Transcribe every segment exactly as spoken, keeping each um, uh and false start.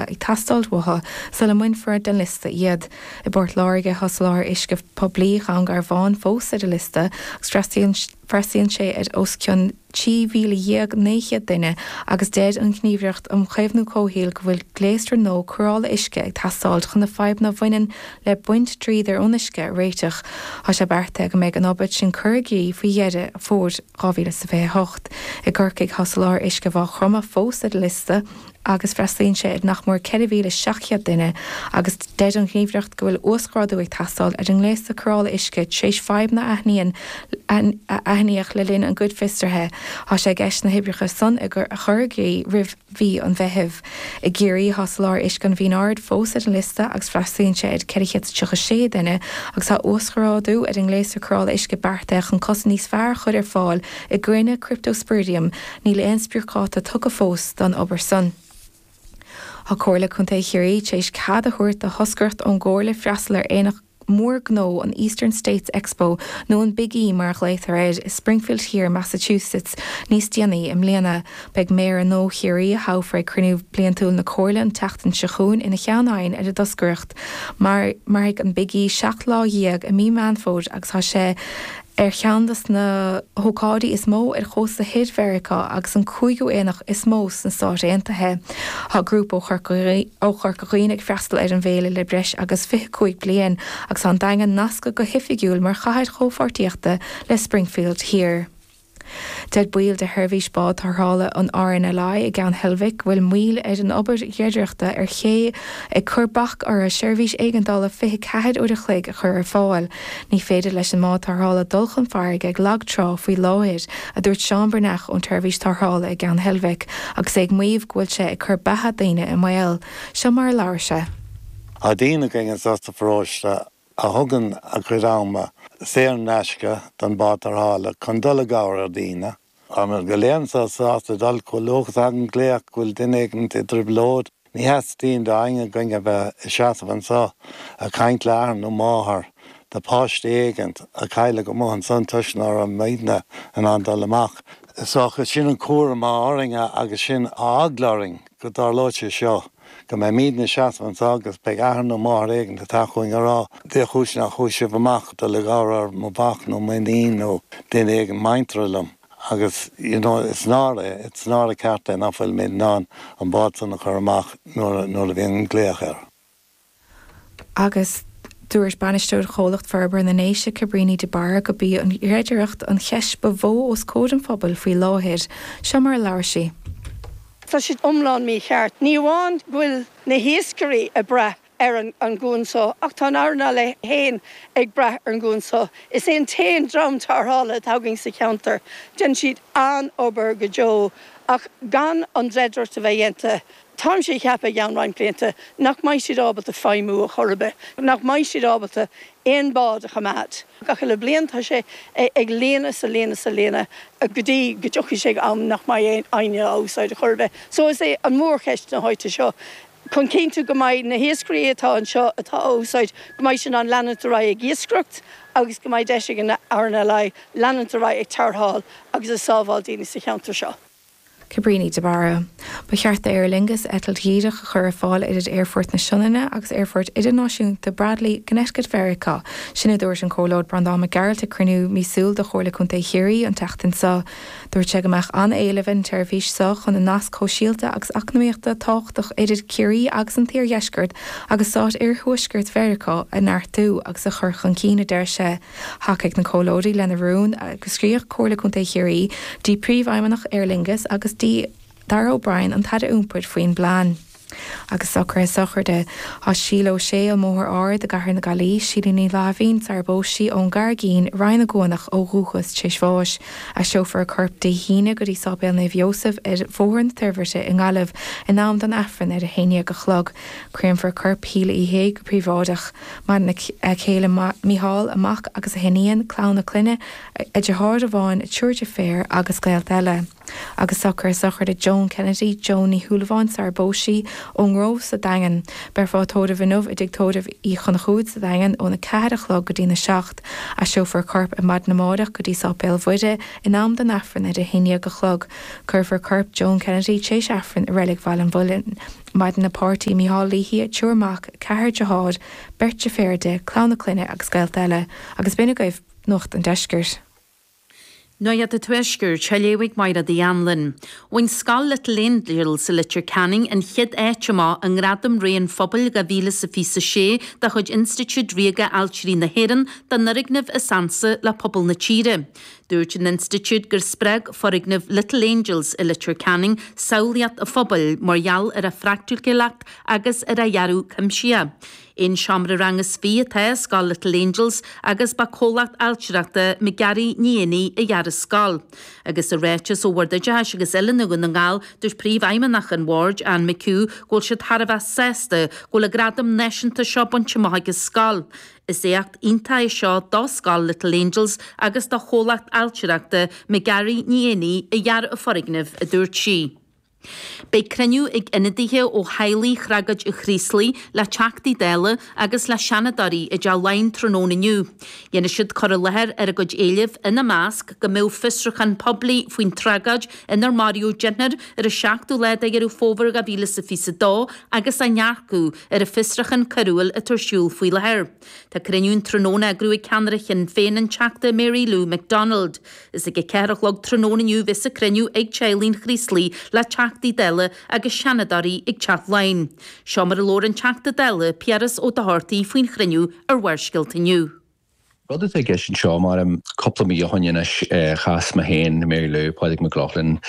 ag teastáil uathu sula mbainfear den liosta iad. I bPort Láirge tá soláthar uisce poiblí Dhún Garbhán fós ar an liosta agus freastalaíonn sé ar os cionn trí mhíle dhéag naoi chéad duine agus deir an Ghníomhaireacht um Chaomhnú Comhshaoil go bhfuil gléasra nua cóireála uisce ag teastáil chun na fadhbanna a bhaineann le baint dríodair ón uisce a réiteach. Tá sé beartaithe go mbeidh an obair sin curtha i gcrích faoi dheireadh fómhair dhá mhíle is fiche a hocht. I gCorcaigh tá soláthar uisce Mhaigh Chromtha fós ar an liosta agus freastalaíonn sé ar nach mór ceithre mhíle seacht chéad duine agus deir an Ghníomhaireacht go bhfuil uasghrádú ag teastáil ar an ngléasra cóireála uisce tar éis fadhbanna a aithníonn a aithníodh le linn a gcuid fiosruithe. Tá sé i gceist na hoibreacha san a chur i gcrích roimh mhí an Mheithimh. I gCiarraí tá soláthar uisce an Mhín Aird fós ar an liosta agus freastalaíonn sé ar ceithre chéad tríocha sé duine agus tá uasghrádú ar an ngléasra cóireála uisce beartaithe chun cosaint níos fearr a chur ar fáil i gcoinne Cryptosporidium. Níl aon spriocdháta tugtha fós don obair san. Tá Comhairle Contae Chiarraí tar éis cead a thabhairt do thoscaireacht ón gComhairle freastal ar aonach mór gnó an Eastern States Expo nó an Big E mar a ghlaotar air i Springfield Thiar, Massachusetts níos déanaí i mbliana. Beidh Méara nua Chiarraí a thoghfar ag cruinniú bliantúil na Comhairle an tseachtain seo chugainn ina cheann feadhain ar an dtoscaireacht. Mar mairfidh an Big E seacht lá dhéag i mí Meán Fómhair agus tá sé ar cheann de na hócáidí is mó ar chósta thoir Mheiriceá agus an cúigiú aonach is mó sna Stáit Aontaithe. Tá grúpa ó Chorca Dhuibhne ag freastal ar an bhféile le breis agus fiche cúig bliain agus tá an Daingean nasctha go hoifigiúil mar chathair chomhpháirtíochta le Springfield Thiar. Deir baill de sheirbhís bád tarrthála an R N L I i gCeann Heilbhic go bhfuil moill ar an obair dhreidireachta ar ché ag cur bac orthu seirbhís éigeandála fiche ceathair uair a chloig a chur ar fáil. Ní féidir leis an mbád tarrthála dul chun farraige ag lag trá faoi láthair, a dúirt Seán Breathnach ón tseirbhís tarrthála i gCeann Heilbhic, agus é ag maíomh go bhfuil sé ag cur beatha daoine i mbaol. Seo mar a labhair sé. Tá daoine againn anseo sa pharóiste a thugann a gcuid ama saor in aisce don bád tarrthála chun dul i gcabhair ar daoine. Tá go léir sásta dul chomh luath is a thagann glaoch go bhfuil duine éigin i dtrioblóid. Ní theastaíonn d'éinne againn a bheith ag seasamh anseo ag caint le athair nó máthair de pháiste éigin a cailleadh amuigh ansan toisc nach raibh muidne in ann dul amach. So sin an cúram atá orainn agus sin eagla orainn go dtarlóidh sé seo. Go mbeidh muidne ag seasamh anseo agus beidh athair nó máthair éigin ag teacht chugainn ag rá cén chúis nár chuaigh sibh amach dul i gcabhair ar mo mhac nó m'iníon nó duine éigin muinteartha liom. Agus you know, is náire it's náire ceart é nach bhfuil muid in ann an bád san a chur amach nuair nuair a bhíonn an glaoch air. Agus dúirt bainisteoir chomhlacht forbartha na nDéise Cabríní de Barra gurb í an dhreidireacht an cheist ba mhó os comhair an phobail faoi láthair, seo mar a labhair sí. Tá siad iomlán mícheart. Ní amháin go bhfuil na hiascairí ag brath ar an, an gcuan seo, ach tá an R N L I féin ag brath ar an gcuan seo. Is é an t-aon dream tarrthála atá againn sa cheantar. Déanann siad an-obair go deo ach gan an dreidireacht a bheith déanta. Táimse ag ceapadh i gceann roinnt blianta nach mbeidh siad ábalta feidhmiú ar chor ar bith, nach mbeidh siad ábalta aon bád a choimeád. Gach uile bliain tá sé ag líonadh is ag líonadh is ag líonadh go dtí go dtiocfaidh sé am nach mbeidh éinne á úsáid ar chor ar bith. So is é an mhórcheist na háite seo. Chun cinntiú go mbeidh na hiascairí atá anseo atá á úsáid go mbeidh sin an leanúint ar aghaidh ag iascaireacht agus go mbeidh deis ag an R N L I leanúint ar aghaidh ag tarrtháil agus ag sábháil daoine sa cheantar seo. Cabríní de Barra. Ba cheart Aer Lingus eitilt dhíreach a chur ar fáil idir Aerfort na Sionainne agus Aerfort Idirnáisiúnta Bradley Connecticut Mheiriceá. Sin a dúirt an Comhairleoir Breandán Mac Gearailt ag cruinniú míosúil de Chomhairle Contae Chiarraí an tseachtain seo. Dúirt sé go mbeadh an-éileamh an tseirbhís seo chun an nasc sóisialta agus eacnamaíochta tábhachtach idir Ciarraí agus an t-iardheisceart agus stáit iarthuaisceart Mheiriceá a neartú agus a chur chun cinn a deir sé. Thacaigh na comhairleoirí lena rún agus scríobh Comhairle Contae Chiarraí dtí príomhfheidhmeannach Aer Lingus agus dtí Darragh O'Brien an tAire Iompair faoin bplean. Agus socruithe sochraide tá Síle Ó Sé ón mBóthar Ard i gCathair na Gaillimhe, Síle Ní Láimhín sar bpóis ón gCarraigín Rinn na gCuanach ó dhúchas tar éis bháis. Aistreofar a corp Dé hAoine go dtí Sáipéal Naomh Iósaf ar Bhóthar na Toirbhirte i nGaillimh in am don Aifreann ar a haon déag a chlog. Créamfar corp Shíle Uí Shé go príobháideach. Maireann a céile Mícheál a mac agus a hiníon, clann a clainne, a deartháir amháin, triúr deirféar agus gaolta eile. Agus socruithe sochraide Joan Kennedy, Joan Ní Shúilleabháin sar bpóis ón nGrove sa Daingean. Beifear á tórramh inniu i dTigh Tórraimh Uí Chonchúir sa Daingean óna ceathair a chlog go dtína seacht. Aistreofar a corp ar maidin amárach go dtí Sáipéal Mhuire in am don Aifreann ar a haon déag a chlog. Cuirfear corp Joan Kennedy tar éis Aifrinn i Reilig Bhaile an Mhuilinn. Maireann a páirtí Micheál Leahy, triúr mac, ceathrar dearthár, beirt deirféar di, clann a clainne agus gaolta eile, agus b'in agaibh Nuacht an Deiscirt. Nuacht an Tuaiscirt, á léamh ag Máire Uí Anluain. Bhain Scoil Little Angels sa Leitir Ceanainn an chéad áit amach i nGradam Ré an Phobail dhá mhíle is a fiche sé de chuid Institiúid Ríoga Ailtirí na hÉireann don fhoirgneamh is ansa le pobal na tíre. Dúirt an institiúid gur spreag foirgneamh Little Angels i Leitir Ceanainn samhlaíocht an phobail mar gheall ar a phraiticiúlacht agus ar a dhearadh cuimsitheach. Aon seomra ranga is fiche atá i Scoil Little Angels agus ba comhlacht ailtireachta McGarry Ní Éanaigh a dhear an scoil. Agus i ráiteas ó Bhord Oideachais agus Oiliúna Dhún na nGall dúirt príomhfheidhmeannach an bhoird Ann McHugh go bhfuil siad thar a bheith sásta go bhfuil an gradam náisiúnta seo bainte amach ag an scoil. Is éacht iontach é seo do Scoil Little Angels agus do chomhlacht ailtireachta McGarry Ní Éanaigh a dhear an foirgneamh a dúirt sí. Beidh cruinniú ag ionadaithe ó theaghlaigh thragóid an Chraoslaigh le Teachtaí Dála agus le Seanadóirí i dTeach Laighean tráthnóna inniu. Dhéanfaidh siad cur i láthair ar a gcuid éileamh ina measc go mbeadh fiosrúchán poiblí faoin tragóid inar maraíodh deichniúr ar an seachtú lá de Dheireadh Fómhair dhá mhíle is a fiche dó agus a ndearcadh ar an bhfiosrúchán coiriúil atá ar siúl faoi láthair. Tá cruinniú an tráthnóna á eagrú ag ceannaire Shinn Féin an Teachta Mary Lou McDonald. Is ag a ceathair a chlog tráthnóna inniu bheas an cruinniú ag teaghlaigh an Chraoslaigh le Teachtaí Dála agus Seanadóirí ag Teach Laighean. Seo mar a labhair an Teachta Dála Piaras Ó Dochartaigh faoin chruinniú ar Bharrscéalta inniu. Rud atá i gceist anseo mar cúpla mí ó shin anois chas mé féin Mary Lou Pádraig Mac Lochlainn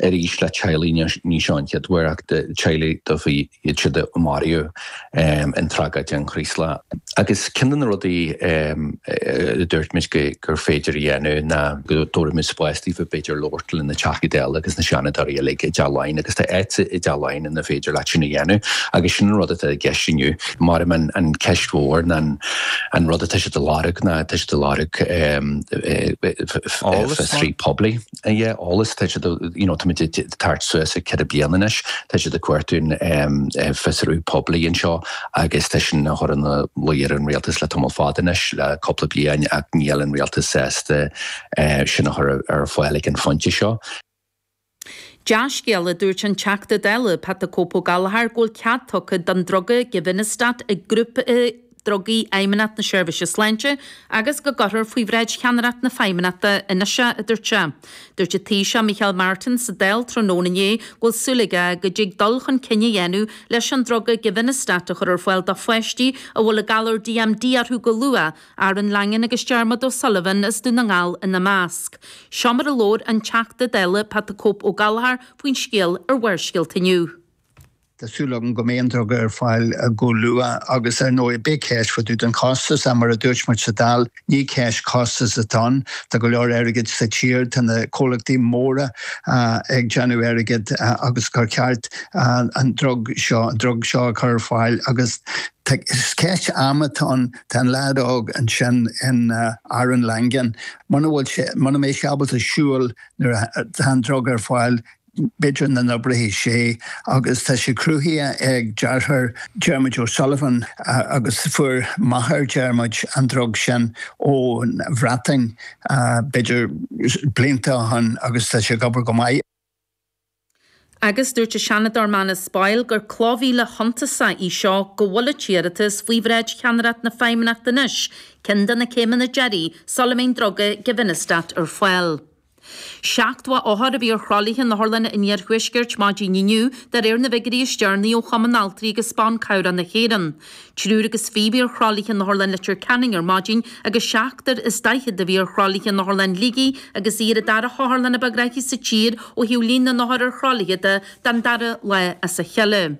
arís le teaghlaigh ní seo an chéad uair ach teaghlaigh do bhí iad siad a maraíodh in tragóid an Chraoslaigh. Agus ceann de na rudaí a dúirt muid gur féidir a dhéanamh ná go dtabharfaidh spás daofa b'fhéidir labhairt le na Teachtaí Dála agus na Seanadóirí uilig i dTeach Laighean agus tá áit i dTeach Laighean ina féidir leat sin a dhéanamh agus sin an rud atá i gceist inniu mar an an ceist mhór ná an rud atá siad ag lorg ná tá siad ag lorg fiosrú poiblí. Eolas tá siad you know, tá tart suas ag ceithre bliana anois, tá siad ag cuartú fiosrú poiblí anseo agus tá sin a chur ina luí ar an rialtas le tamall fada anois le cúpla bliain ach níl an rialtas sásta sin a chur ar fáil ag an phointe seo. Dea-scéala dúirt an Teachta Dála Pat Cope Ó Gallchóir go bhfuil cead tugtha don druga Givinostat ag grúpa drugaí Fheidhmeannacht na Seirbhíse Sláinte agus go gcuirfear faoi bhráid cheannaireacht na Feidhmeannachta anois a dúirt sé. Dúirt an Taoiseach Micheál Martin sa Dáil tráthnóna inné go bhfuil súil aige go dtig dul chun cinn a dhéanamh leis an druga Givinostat a chur ar fáil do pháistí a bhfuil an galar DMD orthu go luath, Aaron Langan agus Dermot O'Sullivan as Dún na nGall ina measc. Seo mar a labhair an Teachta Dála Pat Cope Ó Gallchóir faoin scéal ar Bharrscéalta inniu. Tá súil agam go mbeidh an druga ar fáil go luath agus ar ndóigh beidh ceist fá dtaobh den chostas mar a dúirt muid sa Dáil ní ceist costas atá ann Tá go leor airgid sa tír tá na comhlachtaí móra ag déanamh airgid agus gur ceart an drug seo an drug seo a chur ar fáil agus ceist ama atá ann tá an leaid óg ansin in Aaron Langan muna bhfuil sé muna mbeidh sé ábalta siúl nuair atá an drug ar fáil b'fhéidir nach n-oibreoidh sé agus tá sé cruthaithe ag deartháir Dermot O'Sullivan agus fuair máthair Dermot an drug sin ón Bhreatain b'fhéidir blianta ó shin agus tá sé ag obair go maith. Agus dúirt an Seanadóir Manus Boyle gur cloch mhíle shuntasach í seo go bhfuil an t-iarratas faoi bhráid cheannaireacht na Feidhmeannachta anois, ceann de na céimeanna deiridh sula mbeidh an druga Givinostat ar fáil. Seachtó othar a bhí ar thralaithe in otharlanna an iarthuaiscirt maidin inniu de réir na bhfigiúirí is deireanaí ó Chumann Altraí agus Ban Cabhrach na hÉireann. Triúr agus fiche a bhí ar thralaithe in Otharlann Leitir Ceanainn ar maidin agus seachtar is daichead a bhí ar thralaithe in Otharlann Shligigh agus í ar an dara hotharlann ba ghnaithí sa tír ó thaobh líon na n-othar ar thralaithe de don dara lá as a chéile.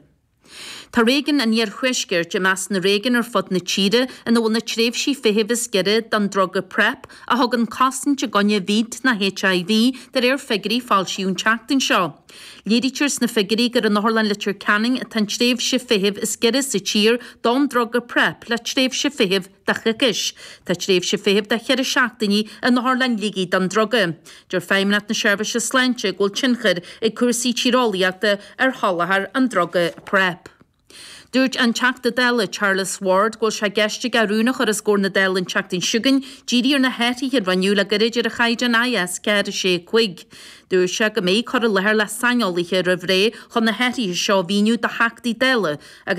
Tá réigiún an iarthuaiscirt i measc na réigiún ar fud na tíre ina bhfuil na tréimhsí feithimh is giorra don druga PrEP a thugann cosaint i gcoinne víd na HIV de réir figiúirí a foilsíodh an tseachtain seo. Léirítear sna figiúirí gur in Otharlann Leitir Ceanainn atá an tréimhse feithimh is giorra sa tír don druga PrEP le tréimhse feithimh de choicís. Tá tréimhse feithimh de cheithre seachtainí in Otharlann Shligigh don druga. Deir Feidhmeannacht na Seirbhíse Sláinte go bhfuil tionchar ag cúrsaí tíreolaíochta ar sholáthar an druga PrEP. Dúirt an Teachta Dála Charles Ward go bhfuil sé i gceist aige rún a chur os comhair na Dála an tseachtain seo chugainn díriú ar na hathruithe a rinneadh le gairid ar an chaighdeán IS ceathair a sé cúig. Dúirt sé go mbeidh cur i láthair le saineolaithe roimh ré chun na hathruithe seo a mhíniú do Theachtaí Dála agus